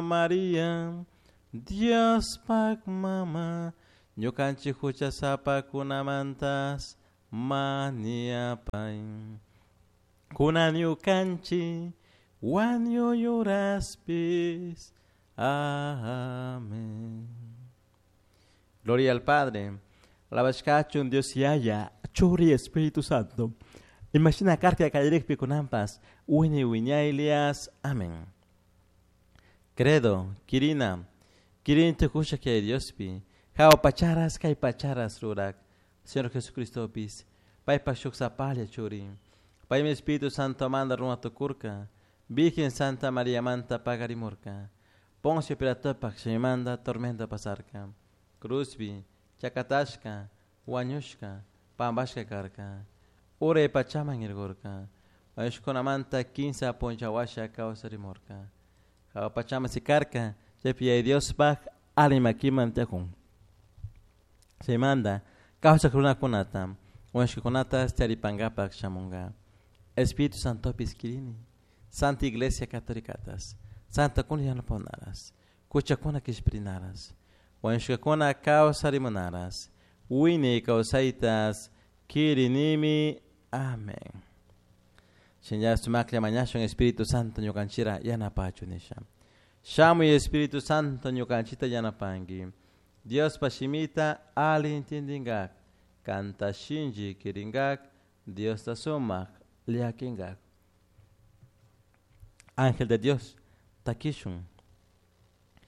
María, Diospaj mama, ñukanchik huchasapakunamantas mañapai. Kunan ñukanchik wañuy uraspis. Amén. Gloria al Padre. Alabashkachun Dios Yaya, Churi Espíritu Santo. Imashina karka kallarikpi kunanpas, wiñay wiñaylias. Amén. Credo, Kirina, Kirin tukusha kay Diospi, Jao pacharas kay pacharas rurak, Señor Jesucristopis, paypa shuk sapalla churi, paymi Espíritu Santo manda runa tukurka, Virgen Santa María manta pagarimurka, Poncio Pilatopak shimimanta tormenta pasarka, Cruzpi, chakatashka, wañushka, pampashka karka, uray pachaman irkurka, wañushkunamanta kinsa puncha washa kawsarimurka, Jawa pachaman sikarka, chaypi Yaya Diospaj ali makiman tiyakun. Chaymanta kawsak runakunata, wañushkakunata charipankapak shamunka. Espíritu Santopis kirini, Santa Iglesia Católicatas, Santa kuna yanapahunaras, kuchakuna kishpirinaras, wañushkakuna kawsarimunaras, wiñay kawsaytas kirinimi. Amén. Shinlla sumaklla mañashun Espíritu Santo ñukanchira yanapachu nisha. Shamuy Espíritu Santo ñukanchita yanapanki. Diospa shimita ali intindingak, kanta shinchi kiringak, Diosta sumak llakinkak. Ángel de Dios, takishun.